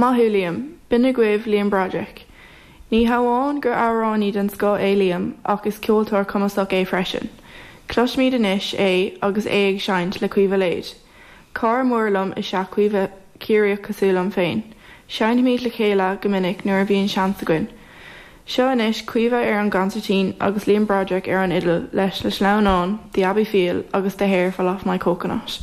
Maith thú, Liam. B'in agaibh Liam Broderick. Ní hamháin gur amhránaí den scoth é Liam ach is ceoltóir cumasach é freisin. Cloisfimid anois é agus é ag seinnt le Caoimhe Lade. Cara mór liom is ea Caoimhe, Ciarraíoch cosúil liom féin. Seinnimid le chéile go minic nuair a bhíonn seans againn. Seo anois Caoimhe ar an gconsairtín agus Liam Broderick ar an fhidil leis na sleamhnáin The Abbey Feel agus The Hair Fell Off My Coconut.